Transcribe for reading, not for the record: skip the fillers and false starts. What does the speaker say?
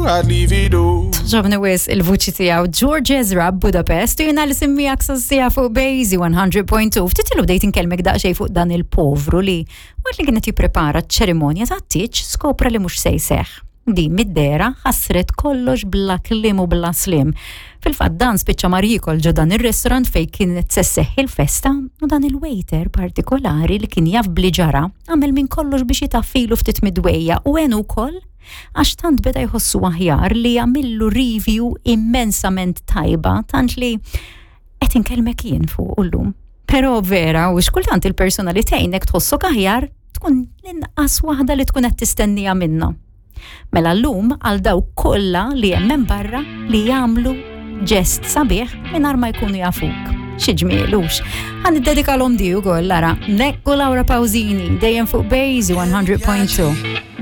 I'd leave it all. Ġobni wis il-vuċi tiegħu George Ezra Budapest u jiena li simmijak sassija fuq Bejzi 100.2. Ftit ilu bdejt inkellmek daqsxejn fuq dan il-povru li waqt li kienet jipprepara ċ-ċerimonja ta' tieġ skopra li mhux se jseħħ. Din mid-dehra ħassret kollox bla kliem u bla sliem. Fil-fatt dan spiċċa mar jiekol ġo dan ir-restaurant fejn kienet se sseħħ il-festa u dan il-waiter partikolari li kien jaf bli ġara għamel minn kollox biex itaffilu ftit mid-dwejja u għenu wkoll għax tant beda jħossu aħjar li għamillu review immensament tajba tant li qed inkellmek jien fuq llum. Però vera u xkultant il-persuna li tgħinek tħossok aħjar tkun l-inqas waħda li tkun qed tistennija minna. Mela llum għal dawk kollha li hemm hemm barra li jagħmlu ġest sabiħ mingħajr ma jkunu jafuk. Xi ġmielux. Ħa niddedikalhom di wkoll ara Nekku Laura Pausini dejjem fuq Bejzi 100.2.